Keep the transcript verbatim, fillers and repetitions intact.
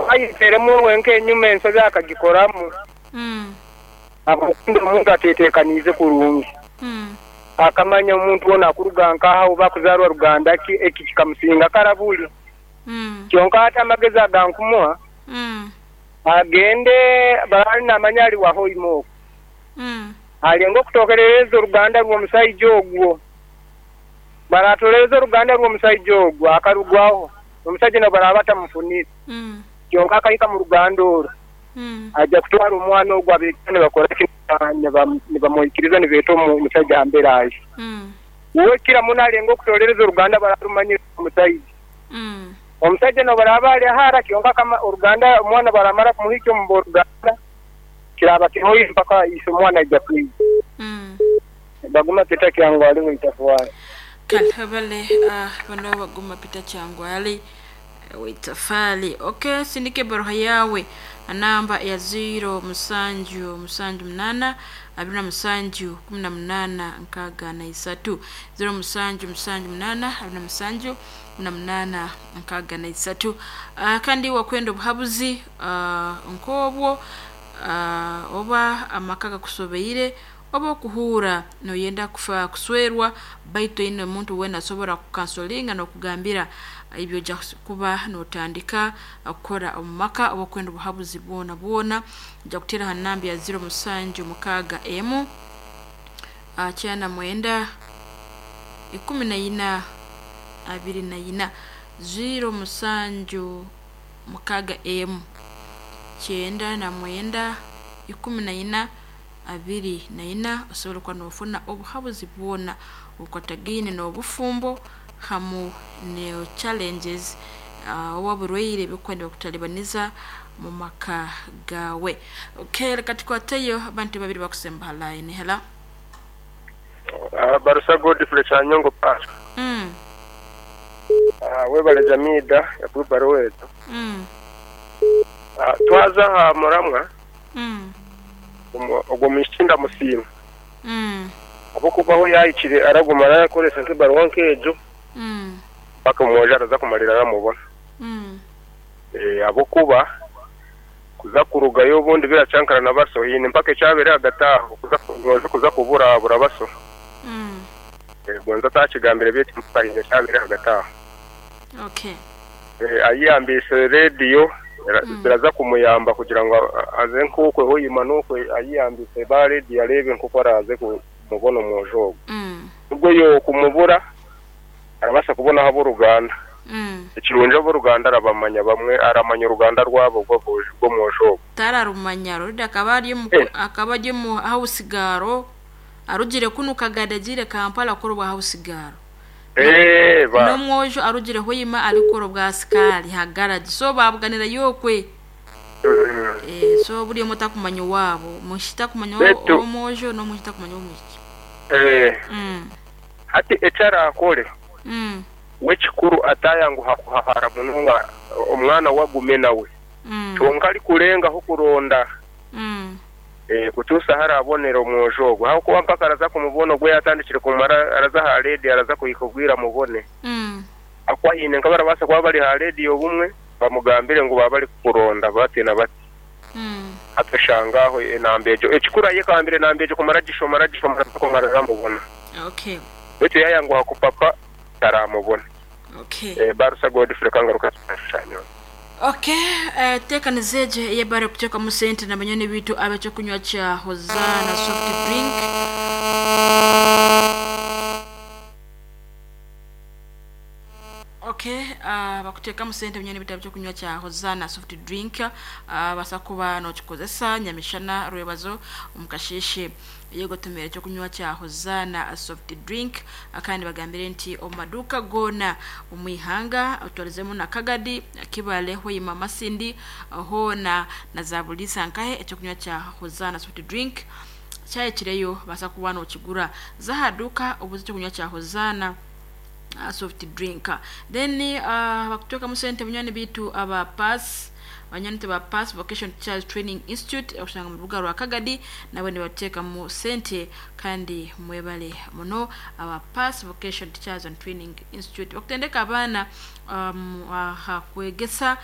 Ayiteremu wenka enyuma ensobi akagikoramu. Mm. Abakundi omuntu atetekaniize kurungi. Mm. Akamanya omuntu wona akuruga nkaha oba akuzarwa ruganda ki eki kikamusinga karabuli. Mm. Kyonka ate amagezi agankumuha Mm. agende barali namanya ali wahoima okwo. Mm. Alenga okutokerereza oruganda rw'omusaija ogwo. Baratolereza oruganda rw'omusaija ogwo akarugwaho omusaija nabo baraba batamufunire. Mm. Kyonka akahika mu ruganda orwo Mm. aja kutwara omwana ogwo abeeta nibakora ki nibamwikiriza nibeeta omusajja ambere aje. Mm. Uwe kira muno alenga okutolereza oruganda bararumanyire omusaija. Mm. Omusajja nabo baraba ali ahara kyonka akama oruganda omwana baramara kumuhika omu oruganda kiraba kihoire mpaka ise omwana aija kwija. Mm. Baguma Peter Kyangwali w'Itafwali. Kale bale uh, bano baguma Peter Kyangwali w'Itafali. Okay, sindike baruha yawe anamba ya ziro musanju musanju munana abiri na musanju kumi na munana nkaaga na isatu ziro musanju musanju munana abiri na musanju kumi na munana nkaaga na isatu. Uh, kandi wakwenda obuhabuzi uh, nk'obwo uh, oba amaka gakusobeire oba okuhuura noyenda kufa kuswerwa baitu oyine omuntu weena asobora kukansolinga n'okugambira ebyo ojja kuba notandika kukora omu maka oba okwenda obuhabuzi bwona bwona ojja kuteera ha namba ya ziro musanju mukaaga emu ah, kyenda mwenda ikumi na ina abiri na ina ziro musanju mukaaga emu kyenda na mwenda ikumi na ina abiri na ina osobola okuba nofuna obuhabuzi bwona obukwatagaine n'obufumbo hamu ne challenges uh, oba oburwaire ebikuba nibakutalibaniza mu maka gawe. Okay, leka tukwateyo abantu babiri bakusemba ha line. Hello. Uh, Barusa Godfrey Kyanyongo Pastor. Mm. Uh, webale Jamida yakubaruwa ezo. Mm. Uh, twaza aha muramwa Mm. ogwo mwishiki ndamusiima. Mm. Ahabw'okuba aho yahikire araguma arakoresa nk'ebaruwa nk'egyo Mm. paka omwojo araza kumalira aramubona. Mm. Eh, ahabw'okuba kuza kurugayo obundi biracyankarana baso hiine mpaka ekyabere hagati aho kuza omwojo kuza kuburabura baso. Mm. Eh, gonza atakigambire beitu mpaka hiine ekyabere hagati aho. Okay. Eh, ayeyambise rediyo Mm. ziraza kumuyamba kugira ngu a- aze nk'okwe hoima n'okwe ayeyambise ba rediyo arebe nk'oku araze kumubona omwojo ogwo. Mm. Nubwo yokumubura arabasa kubonaho ab'oruganda. Mm. Ekirungi ab'oruganda arabamanya bamwe aramanya oruganda rwabo rw'aboojo rw'omwojo ogwo. Tararumanya rurida akaba ari omu Eh. akaba ari omu hausigaro arugire kunu Kagadi agiire Kampala akora obwa hausigaro. Eh, ba N'omwojo arugire Hoima arikukora obwa sikaari ha garagi so babuganira yokwe. Mm. Eh, so buri omwe takumanya owaabo omwishiki takumanya Beitu ow'omwojo n'omwishiki takumanya ow'omwishiki. eh, Mm. hati eki arakore Mm. we kikuru atayanguha kuhahara munonga omwana we agume nawe. Mm. Kyonka arikurengaho kuronda Mm. eh, kutuusa ahu arabonera omwojo ogwo ahabw'okuba mpaka araza kumubona ogwo yatandikire kumara araza aha rediyo araza kuhika obwire amubone. Mm. Ahabw'okuba hiine nk'abarabaasa kuba bari aha rediyo obumwe bamugambire ngu baba barikukuronda bati na bati. Mm. Hati oshanga aho enamba egyo ekikuru ayekambire enamba egyo kumara agishoma aragishoma araza kumara aramubona. Okay. Beitu yayanguha kupapa taramubona. Okay. Eh, Barusa Godfrey Kangaruka Kyanyongo. Okay, uh, tekaniza egyo eyebare kuteekamu sente na banyoni bitu ab'ekyokunywa kya Hosanna soft drink. Okay, uh, bakuteekamu sente banyoni bitu ab'ekyokunywa kya Hosanna soft drink uh, basa kuba nokikozesa nyamishana rwebazo omukasheeshe yegotomera ekyokunywa kya Hosanna soft drink kandi bagambire nti omu maduuka goona omu ihanga otwarizemu na Kagadi, Kibale, Hoima, Masindi hoona na za Buliisa nkahe ekyokunywa kya Hosanna soft drink kyayekireyo basa kuba nokigura za aha duuka obuze ekyokunywa kya Hosanna uh, soft drink. Then uh, bakuteekamu sente bunywani bitu aba pass banywani ba pass vocation teachers training institute okushanga mu rubuga rwa Kagadi nabo nibateekamu sente kandi mwebale muno aba pass vocation teachers and training institute bakutendeka abaana um, aha kwegesa.